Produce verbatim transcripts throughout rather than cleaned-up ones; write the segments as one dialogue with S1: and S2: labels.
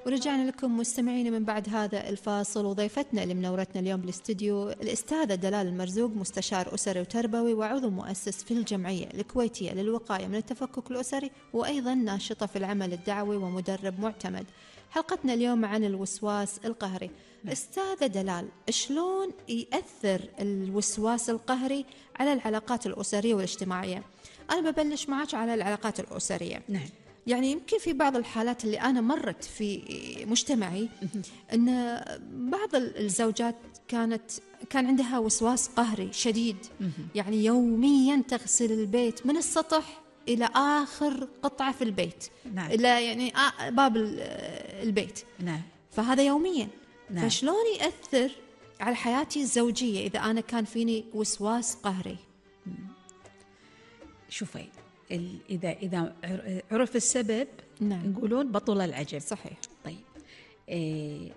S1: ورجعنا لكم مستمعين من بعد هذا الفاصل، وضيفتنا اللي منورتنا اليوم بالاستديو الأستاذة دلال المرزوق، مستشار أسري وتربوي وعضو مؤسس في الجمعية الكويتية للوقاية من التفكك الأسري، وأيضا ناشطة في العمل الدعوي ومدرب معتمد. حلقتنا اليوم عن الوسواس القهري. أستاذة دلال، شلون يأثر الوسواس القهري على العلاقات الأسرية والاجتماعية؟ أنا ببلش معك على العلاقات الأسرية.
S2: نعم.
S1: يعني يمكن في بعض الحالات اللي أنا مرت في مجتمعي أن بعض الزوجات كانت كان عندها وسواس قهري شديد، يعني يوميا تغسل البيت من السطح إلى آخر قطعة في البيت،
S2: نعم.
S1: إلى يعني باب البيت.
S2: نعم.
S1: فهذا يوميا.
S2: نعم.
S1: فشلون يأثر على حياتي الزوجية إذا أنا كان فيني وسواس قهري؟
S2: شوفي، إذا إذا عرف السبب،
S1: نعم.
S2: يقولون بطل العجب.
S1: صحيح.
S2: طيب، إيه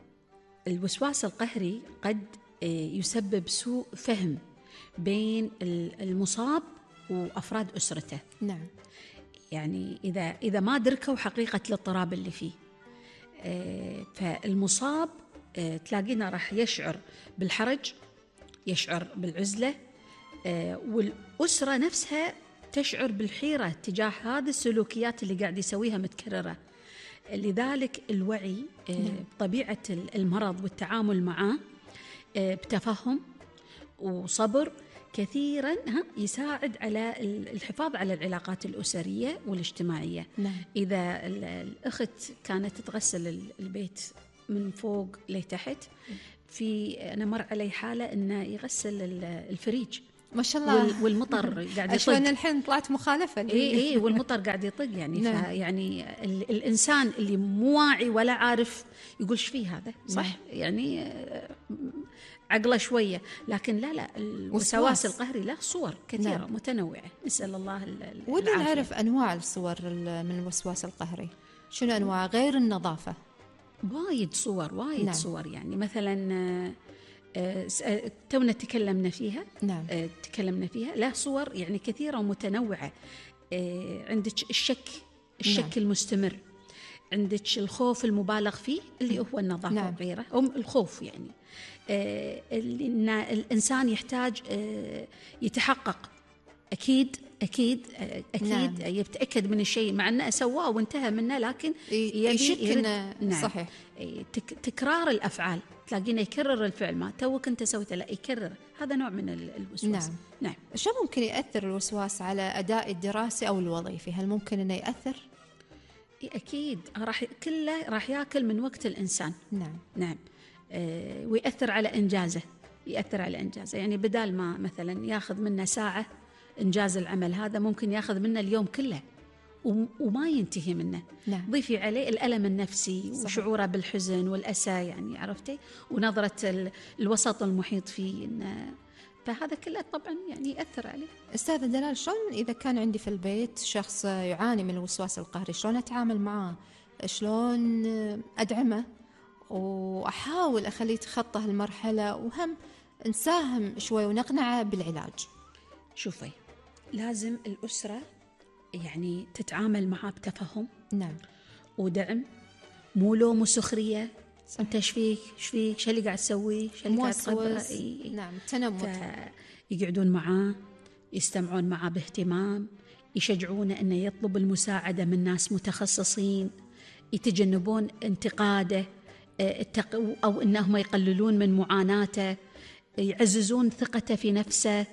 S2: الوسواس القهري قد إيه يسبب سوء فهم بين المصاب وأفراد أسرته.
S1: نعم.
S2: يعني إذا إذا ما دركوا حقيقة الاضطراب اللي فيه، إيه فالمصاب إيه تلاقينا راح يشعر بالحرج، يشعر بالعزلة، إيه والأسرة نفسها تشعر بالحيرة تجاه هذه السلوكيات اللي قاعد يسويها متكررة. لذلك الوعي بطبيعة المرض والتعامل معه بتفهم وصبر كثيرا يساعد على الحفاظ على العلاقات الأسرية والاجتماعية.
S1: نعم.
S2: إذا الأخت كانت تغسل البيت من فوق لتحت، في أنا مر علي حالة إنه يغسل الفريج
S1: ما شاء الله،
S2: والمطر قاعد يطق.
S1: عشان الحين طلعت مخالفة.
S2: إيه إيه والمطر قاعد يطق يعني.
S1: نعم.
S2: يعني الإنسان اللي مو واعي ولا عارف يقول إيش فيه هذا، صح؟
S1: نعم.
S2: يعني عقله شوية، لكن لا لا الوسواس القهري له صور كثيرة. نعم. متنوعة. نسأل الله العافية.
S1: ودنا نعرف أنواع الصور من الوسواس القهري. شنو أنواع غير النظافة؟
S2: وايد صور، وايد. نعم. صور يعني مثلا أه تونا تكلمنا فيها.
S1: نعم.
S2: أه تكلمنا فيها لا صور يعني كثيرة ومتنوعة. أه عندك الشك الشك نعم. المستمر، عندك الخوف المبالغ فيه اللي هو النظافة. نعم. وغيره، أو الخوف يعني أه إن الإنسان يحتاج أه يتحقق أكيد أكيد أكيد. نعم. يتأكد من الشيء مع أنه سواه وانتهى منه، لكن
S1: يشك إنه.
S2: نعم.
S1: صحيح.
S2: تك تكرار الأفعال، تلاقينه يكرر الفعل، ما توك أنت سويته لا يكرر. هذا نوع من الوسواس.
S1: نعم.
S2: نعم.
S1: شو ممكن يأثر الوسواس على أداء الدراسي أو الوظيفي؟ هل ممكن إنه يأثر؟
S2: أكيد راح كله راح يأكل من وقت الإنسان.
S1: نعم.
S2: نعم. آه ويأثر على إنجازه، يأثر على إنجازه. يعني بدال ما مثلا ياخذ منا ساعة إنجاز العمل هذا، ممكن ياخذ منا اليوم كله وما ينتهي منه.
S1: نعم.
S2: ضيفي عليه الألم النفسي. صحيح. وشعوره بالحزن والأسى يعني، عرفتي، ونظرة الوسط المحيط فيه. فهذا كله طبعا يعني يأثر عليه.
S1: أستاذة دلال، شلون إذا كان عندي في البيت شخص يعاني من الوسواس القهري، شلون أتعامل معه؟ شلون أدعمه وأحاول أخليه يتخطى هالمرحلة، وهم نساهم شوي ونقنعه بالعلاج؟
S2: شوفي، لازم الأسرة يعني تتعامل معه بتفهم.
S1: نعم.
S2: ودعم، مو لوم وسخرية. أنت إيش فيك إيش فيك إيش اللي قاعد تسوي إيش اللي قاعد تقبله.
S1: نعم. تنمط.
S2: يقعدون معاه، يستمعون معاه باهتمام، يشجعونه أنه يطلب المساعدة من ناس متخصصين، يتجنبون انتقاده أو أنهم يقللون من معاناته، يعززون ثقته في نفسه،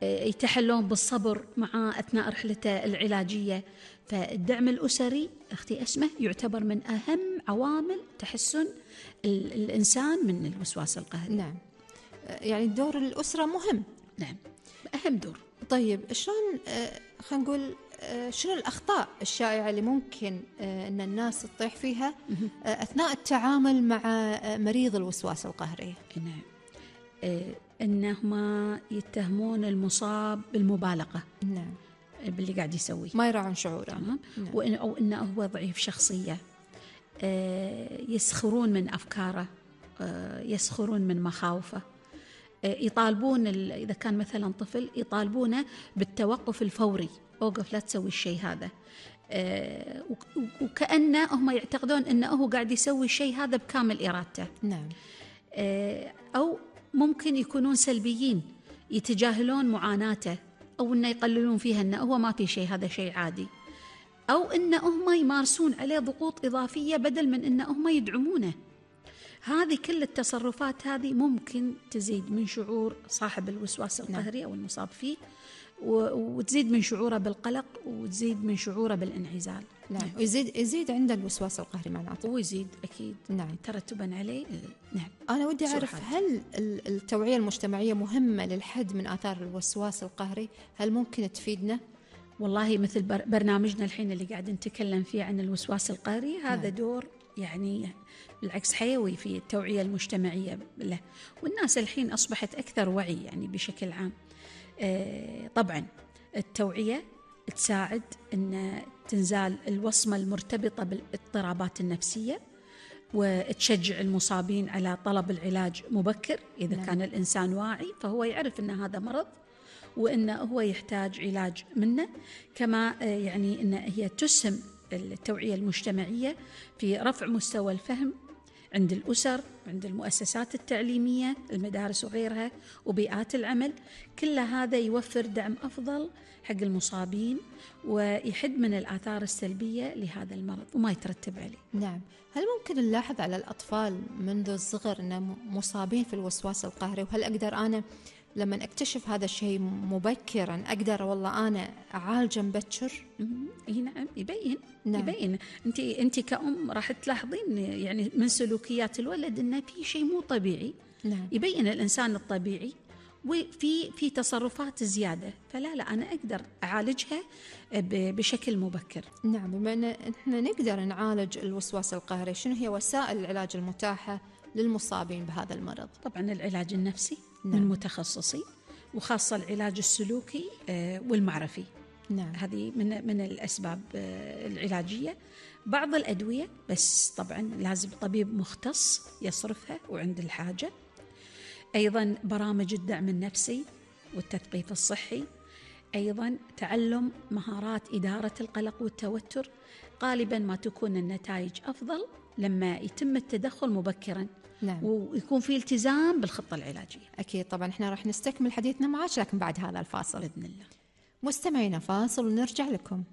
S2: يتحلون بالصبر معه أثناء رحلته العلاجية. فالدعم الأسري أختي أسمة يعتبر من أهم عوامل تحسن الإنسان من الوسواس القهري.
S1: نعم. يعني دور الأسرة مهم.
S2: نعم، أهم دور.
S1: طيب، شلون خلينا نقول شنو الأخطاء الشائعة اللي ممكن أن الناس تطيح فيها أثناء التعامل مع مريض الوسواس القهري؟
S2: نعم. إنهم يتهمون المصاب بالمبالغة.
S1: نعم.
S2: باللي قاعد يسويه،
S1: ما يراعون شعوره.
S2: تمام. نعم. وإن أو إنه هو ضعيف شخصية. يسخرون من أفكاره، يسخرون من مخاوفه، يطالبون إذا كان مثلا طفل يطالبونه بالتوقف الفوري، أوقف لا تسوي الشيء هذا. آه وكأنه هم يعتقدون أنه هو قاعد يسوي الشيء هذا بكامل إرادته.
S1: نعم.
S2: آه أو ممكن يكونون سلبيين، يتجاهلون معاناته أو أنه يقللون فيها أنه هو ما في شيء، هذا شيء عادي، أو أن هم يمارسون عليه ضغوط إضافية بدل من أن هم يدعمونه. هذه كل التصرفات هذه ممكن تزيد من شعور صاحب الوسواس القهري أو المصاب فيه، وتزيد من شعوره بالقلق، وتزيد من شعوره بالانعزال.
S1: نعم. ويزيد يزيد عند الوسواس القهري معناته.
S2: ويزيد أكيد.
S1: نعم.
S2: ترتبا عليه. نعم.
S1: أنا ودي أعرف، هل التوعية المجتمعية مهمة للحد من آثار الوسواس القهري؟ هل ممكن تفيدنا؟
S2: والله مثل برنامجنا الحين اللي قاعد نتكلم فيه عن الوسواس القهري، هذا نعم. دور يعني بالعكس حيوي في التوعية المجتمعية له، والناس الحين أصبحت أكثر وعي يعني بشكل عام. آه طبعا التوعية تساعد أن تنزال الوصمة المرتبطة بالاضطرابات النفسية، وتشجع المصابين على طلب العلاج مبكر. إذا نعم. كان الإنسان واعي فهو يعرف أن هذا مرض وأنه هو يحتاج علاج منه. كما يعني أن هي تسهم التوعية المجتمعية في رفع مستوى الفهم عند الأسر، عند المؤسسات التعليمية، المدارس وغيرها، وبيئات العمل. كل هذا يوفر دعم أفضل حق المصابين ويحد من الآثار السلبية لهذا المرض وما يترتب عليه.
S1: نعم. هل ممكن نلاحظ على الأطفال منذ الصغر أنهم مصابين في الوسواس القهري؟ وهل أقدر أنا لما أكتشف هذا الشيء مبكرا أقدر والله أنا أعالجه مبكر؟
S2: نعم يبين.
S1: نعم.
S2: يبين. أنت أنت كأم راح تلاحظين يعني من سلوكيات الولد إنه في شيء مو طبيعي.
S1: نعم.
S2: يبين الإنسان الطبيعي وفي في تصرفات زيادة، فلا لا أنا أقدر أعالجها بشكل مبكر.
S1: نعم. بما أن إحنا نقدر نعالج الوسواس القهري، شنو هي وسائل العلاج المتاحة للمصابين بهذا المرض؟
S2: طبعا العلاج النفسي
S1: نعم.
S2: من متخصصين، وخاصة العلاج السلوكي والمعرفي.
S1: نعم.
S2: هذه من من الأسباب العلاجية. بعض الأدوية بس طبعا لازم طبيب مختص يصرفها وعند الحاجة. أيضا برامج الدعم النفسي والتثقيف الصحي. أيضا تعلم مهارات إدارة القلق والتوتر. غالبا ما تكون النتائج أفضل لما يتم التدخل مبكرا.
S1: نعم.
S2: ويكون في التزام بالخطة العلاجية.
S1: أكيد. طبعا إحنا راح نستكمل حديثنا معك لكن بعد هذا الفاصل
S2: بإذن الله.
S1: مستمعينا فاصل ونرجع لكم.